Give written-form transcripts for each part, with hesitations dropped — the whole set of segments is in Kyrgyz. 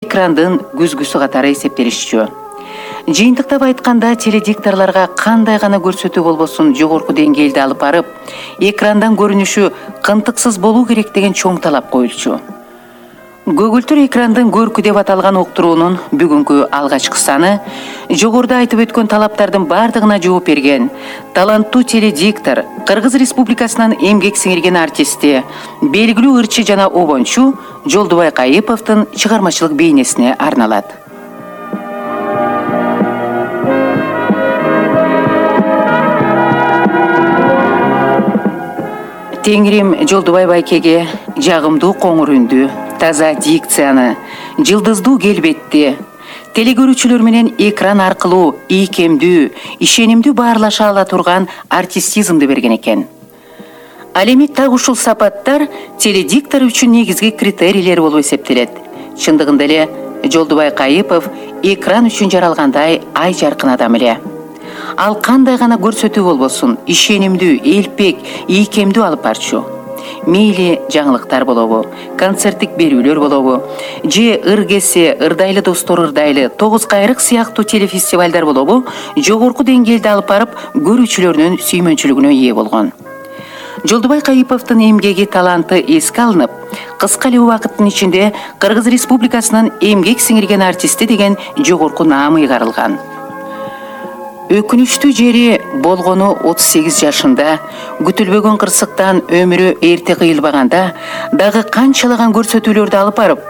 экрандын күзгүсү катары эсептелишчү. Жыйынтыктап айтканда, теледикторлорго кандай гана көрсөтүү болбосун жогорку деңгээлде алып барып, экрандан көрүнүшү кынтыксыз болуу керек деген чоң талап коюлчу. Көгүлтүр экрандын көркү деп аталган уктуруунун бүгүнкү алгачкы саны жогоруда айтып өткөн талаптардын бардыгына жооп берген таланттуу теледиктор, Кыргыз Республикасынын эмгек сиңирген артисти, белгилүү ырчы жана обончу Жолдубай Кайыповдун чыгармачылык бейнесине арналат. Теңирим Жолдубай байкеге жагымдуу коңур үндү, таза дикцияны, жылдыздуу келбетти, телекөрүүчүлөр менен экран аркылуу ийкемдүү, ишенимдүү баарлаша ала турган артистизмди берген экен. Ал эми так ушул сапаттар теледиктор үчүн негизги критерийлер болуп эсептелет. Чындыгында эле Жолдубай Кайыпов экран үчүн жаралгандай ай жаркын адам эле. Ал кандай гана көрсөтүү болбосун, ишенимдүү, элпек, ийкемдүү алып барчу. Мейли жаңылыктар болобу, концерттик берүүлөр болобу, же ыргесе, ырдайлы достор ырдайлы, тогуз кайрык сыяктуу телефестивалдар болобу, жогорку деңгээлде алып барып, көрүүчүлөрдүн сүймөнчүлүгүнө ээ болгон. Жолдубай Кайыповдун эмгеги, таланты эске алынып, кыска эле убакыттын ичинде Кыргыз Республикасынын эмгек сиңирген артисти деген жогорку наамы ыйгарылган. Өкүнүчтүү жери болгону 38 жашында, күтүлбөгөн кырсыктан өмүрү эрте кыйылбаганда, дагы канчалаган көрсөтүүлөрдү алып барып,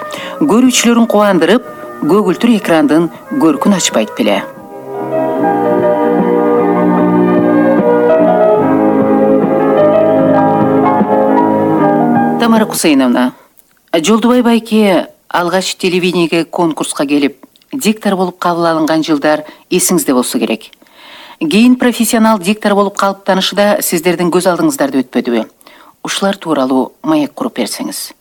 көрүүчүлөрүн кубандырып, көгүлтүр экрандын көркүн ачпайт беле. Тамара Кусейновна, Жолдубай байке алгач телевидениеге конкурска келип, диктор болуп кабыл алынган жылдар эсиңизде болсо керек. Кийин профессионал диктор болуп калыптанышы да сиздердин көз алдыңыздарда өтпөдүбү? Ушулар тууралуу маек куруп берсеңиз.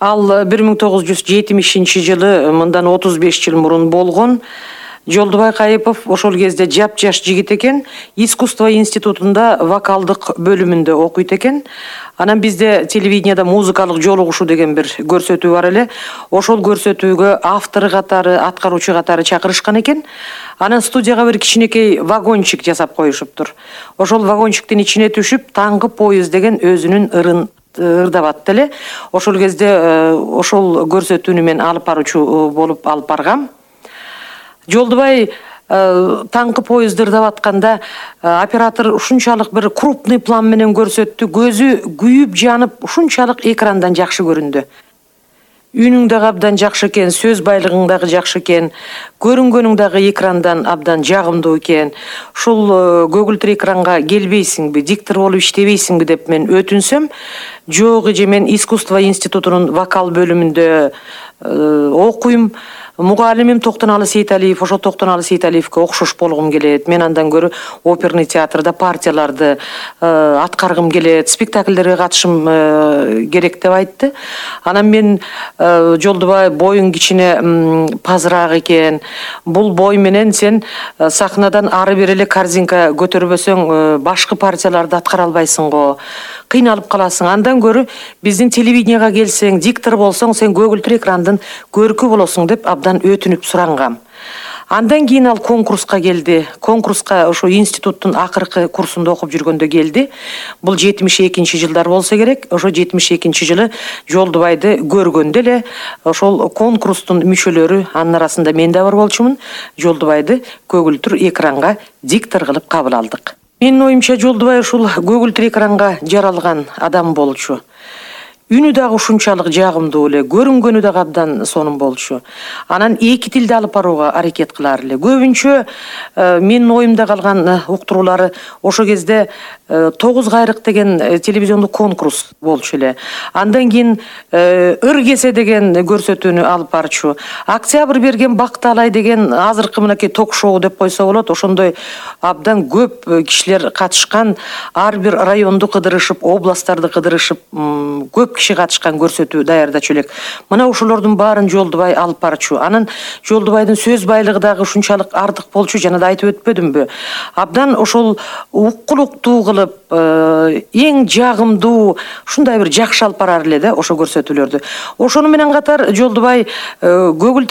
Ал 1970 жылы, мындан 35 жыл мурун болгон. Жолдубай Кайыпов ошол кезде жап-жаш жигит экен, искусство институтунда вокалдык бөлүмүндө окуйт экен. Анан бизде телевидениеда музыкалык жолугушуу деген бир көрсөтүү бар эле. Ошол көрсөтүүгө автор катары, аткаруучу катары чакырышкан экен. Анан студияга бир кичинекей вагончик жасап коюшуптур. Ошол вагончиктин ичине түшүп, таңкы поезд деген өзүнүн ырын ырдап эле. Ошол кезде ошол көрсөтүүнү мен алып баруучу болуп алып баргам. Жолдубай таңкы поезд ырдап атканда оператор ушунчалык бир крупный план менен көрсөттү, көзү күйүп жанып, ушунчалык экрандан жакшы көрүндү. Үнүң дагы абдан жакшы экен, сөз байлыгың дагы жакшы экен, көрүнгөнүң дагы экрандан абдан жагымдуу экен. Ушул көгүлтүр экранга келбейсиңби, диктор болуп иштебейсиңби деп мен өтүнсөм, жок эже, мен искусство институтунун вокал бөлүмүндө окуйм. Мугалимим Токтоналы Сейталиев, ошо Токтоналы Сейталиевке окшош болгум келет. Мен андан көрө оперный театрда партияларды аткаргым келет, спектакльдерге катышым керек деп айтты. Анан мен Жолдубай, боюң кичине пазыраак экен. Бул бой менен сен сахнадан ары бери эле корзинка көтөрбөсөң, башкы партияларды аткара албайсың го. Кыйналып каласың. Андан көрө биздин телевидениега келсең, диктор болсоң, сен көгүлтүр экрандын көркү болосуң деп абдан өтүнүп сурангам. Андан кийин ал конкурска келди. Конкурска ошо институттун акыркы курсунда окуп жүргөндө келди. Бул 72 жылдар болсо керек. Ошо 72 жылы Жолдубайды көргөндө эле ошол конкурстун мүчөлөрү, анын арасында мен да бар болчумун, Жолдубайды көгүлтүр экранга диктор кылып кабыл алдык. Менин оюмча Жолдубай ушул көгүлтүр экранга жаралган адам болчу. Үнү дагы ушунчалык жагымдуу эле, көрүнгөнү дагы абдан сонун болчу. Анан эки тилде алып барууга аракет кылар эле. Көбүнчө менин оюмда калган уктуруулары ошо кезде 9 кайрык деген телевизиондук конкурс болчу эле. Андан кийин ыргесе деген көрсөтүүнү алып барчу. Октябрь берген Бакталай деген азыркы мынакей ток-шоу деп койсо болот. Ошондой абдан көп кишилер катышкан, ар бир районду кыдырышып, областтарды кыдырышып, көп киши катышкан көрсөтүү даярдачу элек. Мына ошолордун баарын Жолдубай алып барчу. Анан Жолдубайдын сөз байлыгы дагы ушунчалык артык болчу, жана да айтып өтпөдүмбү? Абдан ошол уккулуктуу кылып, эң жагымдуу, ушундай бир жакшы алып барар эле да ошо көрсөтүүлөрдү. Ошону менен катар Жолдубай көгүлтүр